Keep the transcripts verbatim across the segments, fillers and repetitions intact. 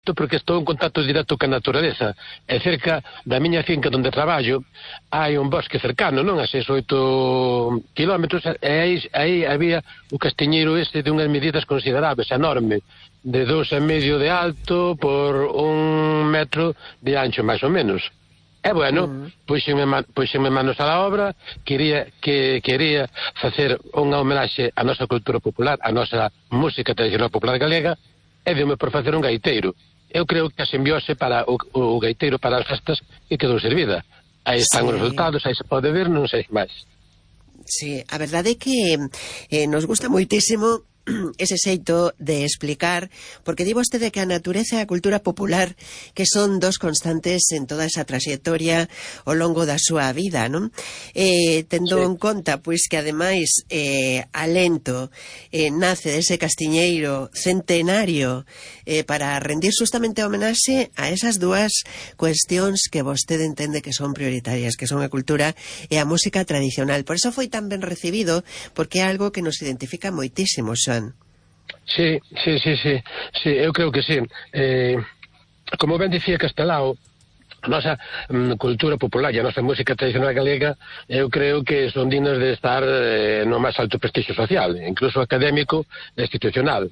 directo porque estou en contacto directo ca naturaleza. E cerca da miña finca onde traballo hai un bosque cercano, non? A seis ou oito kilómetros, e aí, aí había o castiñeiro este de unhas medidas considerables, enorme, de dous e medio de alto por un metro de ancho, máis ou menos. E bueno, mm. puxenme, puxenme manos a la obra, quería, que, quería facer unha homenaxe á nosa cultura popular, á nosa música tradicional popular galega, e deu-me por facer un gaiteiro. Eu creo que a simbiose para o, o gaiteiro para as festas que quedou servida. Aí están sí. os resultados, aí se pode ver, non sei máis. Sí, a verdade é que eh, nos gusta moitísimo ese xeito de explicar, porque di vostede que a natureza e a cultura popular que son dos constantes en toda esa trayectoria ao longo da súa vida, non? Eh, tendo sí. en conta, pois, que ademais eh, Alento eh, nace dese castiñeiro centenario eh, para rendir justamente homenaxe a esas dúas cuestións que vostede entende que son prioritarias, que son a cultura e a música tradicional. Por eso foi tan ben recibido, porque é algo que nos identifica moitísimo, Xoán. Sí, sí, sí, sí, sí, eu creo que sí. Eh, como ben dicía Castelao, a nosa mm, cultura popular e a nosa música tradicional galega, eu creo que son dignas de estar eh, no máis alto prestigio social, incluso académico e institucional.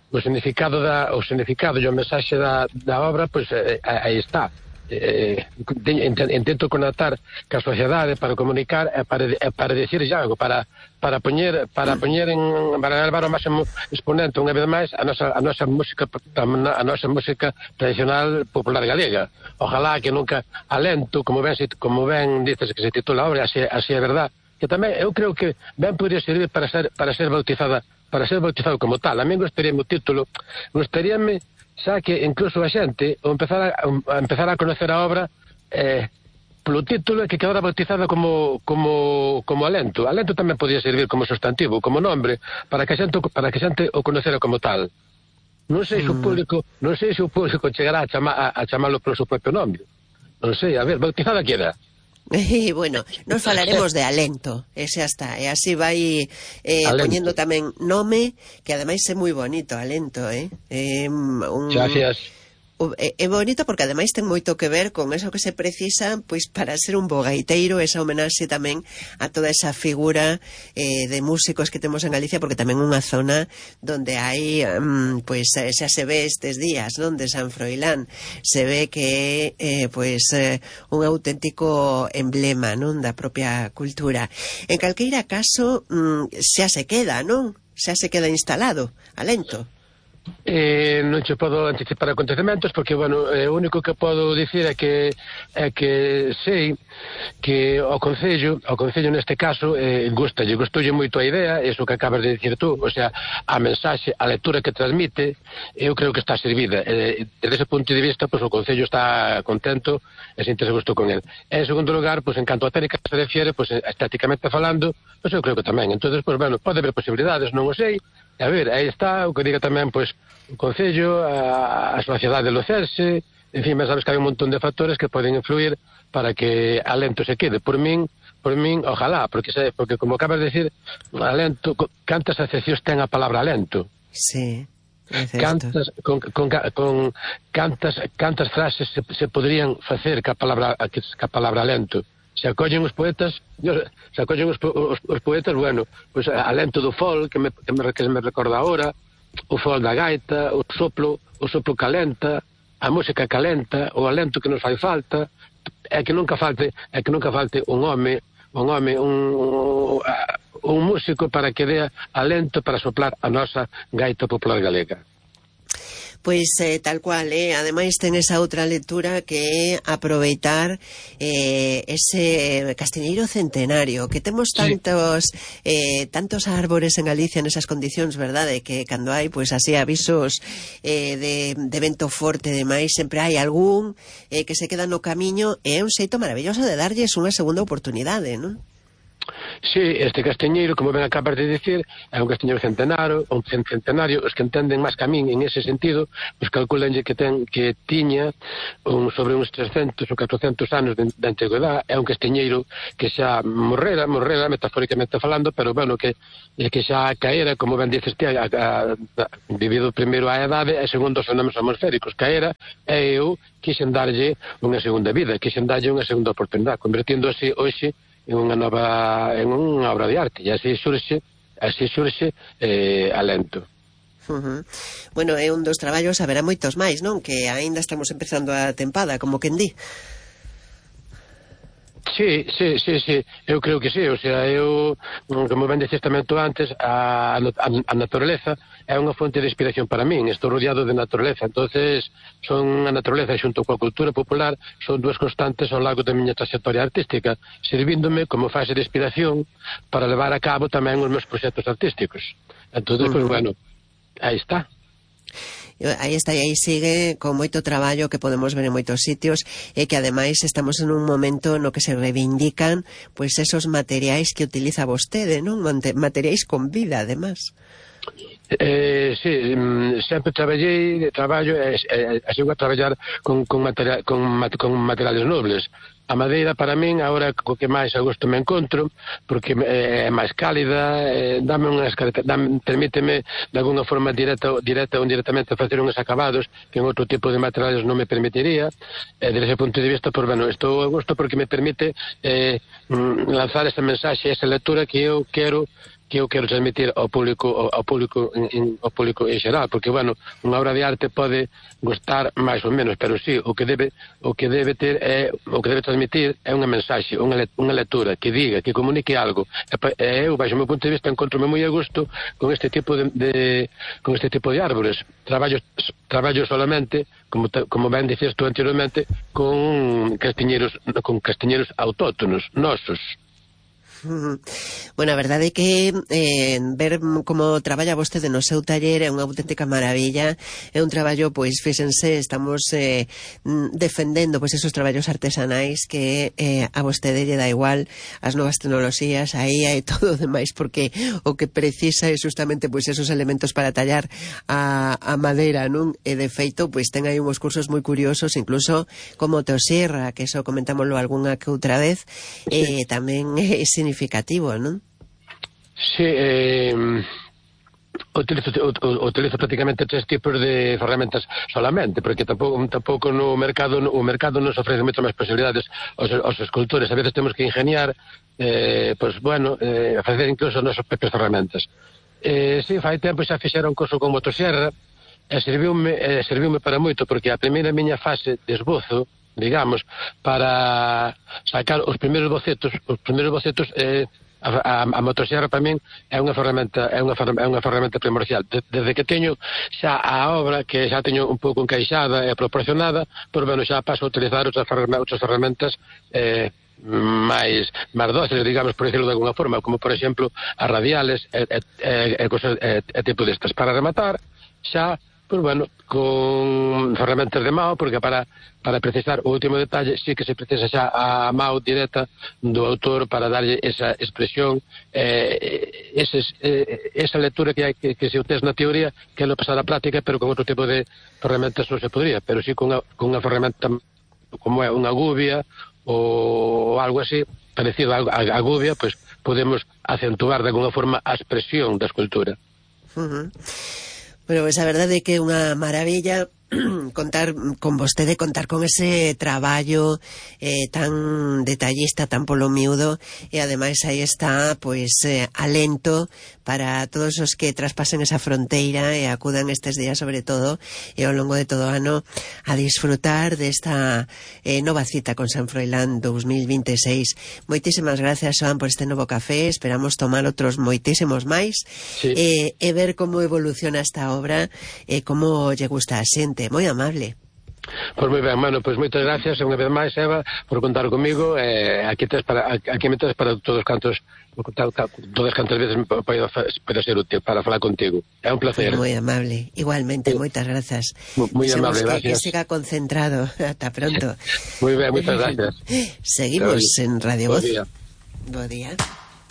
O significado da, o significado e o mensaxe da, da obra, pois eh, aí está. Eh, intento conectar ca sociedade para comunicar e para, para decir algo, para para poñer para poñer en para levar ao máximo exponente unha vez máis a nosa a nosa música a nosa música tradicional popular galega. Ojalá que nunca Alento, como ben como ben dices que se titula a obra, así, así é verdad, que tamén eu creo que ben podría servir para ser para ser bautizada, para ser bautizado como tal. A mí gostaríame o título, gostaríame xa que incluso a xente ou empezar a, a empezar a conocer a obra eh, polo título que quedara bautizada como como como Alento. Alento tamén podía servir como sustantivo, como nombre, para que a xente para que a xente o conocera como tal. Non sei se o público, non sei se o público chegará a, chama, a, a chamalo polo seu propio nome. Non sei, a ver, bautizada queda. E, bueno, nos falaremos de Alento, ese hasta, e así vai eh, poñendo tamén nome, que ademais é moi bonito, Alento, eh? eh un... Gracias. É bonito porque ademais ten moito que ver con eso que se precisa pois para ser un bo gaiteiro, esa homenaxe tamén a toda esa figura eh, de músicos que temos en Galicia, porque tamén unha zona donde hai um, pois xa se ve estes días, non, de San Froilán, se ve que é eh, pois eh, un auténtico emblema, non, da propia cultura. En calqueira caso um, xa se queda, non? Xa se queda instalado, Alento. Eh, non che podo anticipar acontecementos porque, bueno, eh, o único que podo dicir é que é que sei que ao Concello, ao Concello neste caso, eh, gustalle, gustoulle moito a idea, eso que acabas de dicir tú, o sea, a mensaxe, a lectura que transmite, eu creo que está servida. Eh, desde ese punto de vista, pues, o Concello está contento e sinta-se gusto con el. En segundo lugar, pues, en canto a técnica se refiere, pues, estéticamente falando, pues, eu creo que tamén. Entonces, pues, bueno, pode haber posibilidades, non o sei. A ver, aí está, o que diga tamén, pois, o Concello, a, a sociedade lucense, en fin, mas sabes que hai un montón de factores que poden influir para que Alento se quede. Por min, por min, ojalá, porque, porque como acabas de decir, Alento, cantas acepcións ten a palabra Alento. Sí, é certo. Cantas, con, con, con cantas, cantas frases se, se podrían facer ca palabra, ca palabra Alento. Se acollen os poetas, se acollen os, os, os poetas, bueno, pues Alento do fol, que me, que me, que me recorda ahora, o fol da gaita, o soplo, o soplo calenta, a música calenta, o alento que nos fai falta, é que nunca falte, é que nunca falte un home, un home, un, un músico para que dea alento para soplar a nosa gaita popular galega. Pois eh, tal cual, eh? Ademais ten esa outra lectura que é aproveitar eh, ese castiñeiro centenario, que temos tantos sí. eh, tantos árbores en Galicia nesas condicións, verdade, que cando hai pois así avisos eh, de, de vento forte e demais, sempre hai algún eh, que se queda no camiño, e é un xeito maravilloso de darlles unha segunda oportunidade, non? Sí, este castiñeiro, como ben acabas de dicir, é un castiñeiro centenario, un centenario, os que entenden máis que a min en ese sentido, os calculanlle que ten que tiña un, sobre uns trescentos ou catrocentos anos de, de antigüedade, é un castiñeiro que xa morrera, morrera, metafóricamente falando, pero bueno, que, que xa caera, como ben dices ti, a, a, a, debido primeiro á edade e segundo aos fenómenos atmosféricos, caera, e eu quixen darlle unha segunda vida, quixen darlle unha segunda oportunidade, convertindo así hoxe en unha nova, en unha obra de arte, e así surxe, así surxe eh, alento. Uh-huh. Bueno, é un dos traballos, haberá moitos máis, non? Que aínda estamos empezando a tempada, como quen di. Sí, sí, sí, sí, eu creo que sí, o sea, eu, como ben dixes tamén tú antes, a, a, a naturaleza é unha fonte de inspiración para min, estou rodeado de naturaleza, entonces son a naturaleza xunto coa cultura popular, son dúas constantes ao largo da miña trayectoria artística, servíndome como fase de inspiración para levar a cabo tamén os meus proxectos artísticos. Entonces, uh-huh. Pues bueno, aí está. Aí está, e aí sigue con moito traballo que podemos ver en moitos sitios e que ademais estamos en un momento no que se reivindican pois esos materiais que utiliza vostede, non? Materiais con vida, además. Eh, sí, sempre traballei, traballo, e eh, eh, sigo a traballar con, con, material, con, con materiales nobles. A madeira para min, agora co que máis a gusto me encontro, porque é máis cálida, eh, dame unhas dame, permíteme de alguna forma directa, directa ou indirectamente facer uns acabados que en outro tipo de materiales non me permitiría, e desde ese punto de vista, pues, bueno, estou a gusto porque me permite eh, lanzar esa mensaxe, esa lectura que eu quero que eu quero transmitir ao público ao, ao público en, en, ao público en xeral, porque bueno, unha obra de arte pode gustar máis ou menos, pero sí, o que debe o que debe ter é o que debe transmitir é unha mensaxe, unha, unha lectura que diga, que comunique algo. E eu, baixo o meu punto de vista, encontro-me moi a gusto con este tipo de, de con este tipo de árbores. Traballo traballo solamente, como como ben dicías tú anteriormente, con castiñeiros con castiñeiros autóctonos, nosos. Bueno, a verdade é que eh, ver como traballa vostede no seu taller é unha auténtica maravilla, é un traballo, pois, fíxense, estamos eh, defendendo pois esos traballos artesanais que eh, a vostede lle dá igual as novas tecnoloxías, aí hai todo o demais, porque o que precisa é justamente pois esos elementos para tallar a, a madeira, non? E de feito, pois ten aí uns cursos moi curiosos, incluso como Teosierra, que eso comentámoslo algunha que outra vez, e eh, tamén é significativo, non? Sí, eh, utilizo, utilizo prácticamente tres tipos de ferramentas solamente, porque tampouco, tampouco no mercado o mercado nos ofrece moitas máis posibilidades aos, aos escultores. A veces temos que ingeniar, eh, pues bueno, eh, facer incluso as nosas propias ferramentas. Eh, sí, fai tempo xa fixera un curso con motosierra e serviume, eh, serviume para moito, porque a primeira miña fase de esbozo, digamos, para sacar os primeiros bocetos, os primeiros bocetos eh, a, a, a motosierra para min é unha ferramenta é unha, é unha ferramenta primordial. Desde que teño xa a obra que xa teño un pouco encaixada e proporcionada, por bueno, xa paso a utilizar outras ferramentas, outras ferramentas eh, máis máis dóciles, digamos, por decirlo de alguna forma, como por exemplo as radiales e, e, e, e, e, e tipo destas. Para rematar, xa pues bueno, con ferramentas de mao, porque para para precisar o último detalle sí que se precisa xa a mao directa do autor para darlle esa expresión, eh, eses, eh, esa lectura que hai que, que se utiliza na teoría, que é lo pasar a práctica, pero con outro tipo de ferramentas non se podría, pero sí con unha, con unha ferramenta como é unha gubia ou algo así, parecido a, a, a gubia, pues podemos acentuar de alguna forma a expresión da escultura. Uh-huh. Bueno, pues a verdade é que é unha maravilla contar con vostede, contar con ese traballo eh, tan detallista, tan polo miúdo, e ademais aí está, pois, eh, alento para todos os que traspasen esa fronteira e acudan estes días, sobre todo, e ao longo de todo o ano, a disfrutar desta eh, nova cita con San Froilán dos mil veintiséis. Moitísimas gracias, Xoán, por este novo café. Esperamos tomar outros moitísimos máis, sí. e, e ver como evoluciona esta obra e como lle gusta a xente. Moi amable. Pois moi ben, mano, pois moitas gracias unha vez máis, Eva, por contar comigo. Eh, aquí tes para aquí me tes para todos cantos, todas cantas veces podo ser útil para falar contigo. É un placer. Moi amable, igualmente, sí. Moitas grazas. Moi amable, que, gracias. Que siga concentrado. Ata pronto. Moi ben, moitas gracias. Seguimos en Radio Voz. Bo día. Bo día.